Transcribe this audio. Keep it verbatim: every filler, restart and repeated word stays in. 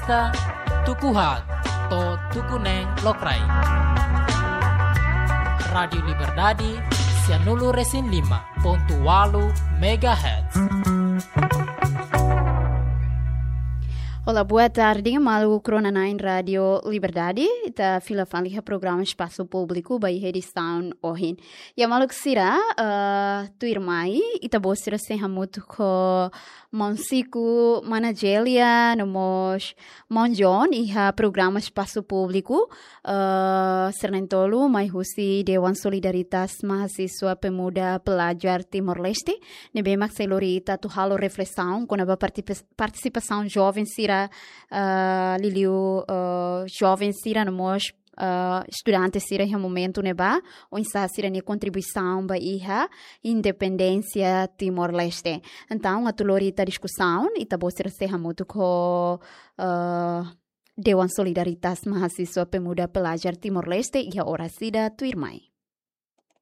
Tuku haat to'o tuku neen lokraik. Rádiu Liberdade, sianulu resin lima pontu walu megahertz. Olá, boa tarde. Maluk rona-na'in Rádiu Liberdade, ita fila fali iha programa Espasu Públiku ba iha edisaun ohin. Ya maluk sira, eh, tuirmai, ita-boot sira sei hamutuk ho Maun Siku, Mana Jelia, no mós Maun John, iha programa Espasu Públiku, eh, sira na'in-tolu mai husi Dewan Solidaritas Mahasiswa Pemuda Pelajar Timor-Leste, ne'ebé mak sei lori ita atu halo reflesaun kona-ba parti-, partisipasaun joven sira, eh, liuliu, eh, joven sira no mós, eh, estudante sira iha momentu ne'ebá, oinsá sira-nia kontribuisaun ba iha independénsia Timor-Leste. Entaun, atu lori ita diskusaun, ita-boot sira sei hamutuk ho, eh, Dewan Solidaritas Mahasiswa Pemuda Pelajar Timor-Leste iha oras ida tuirmai.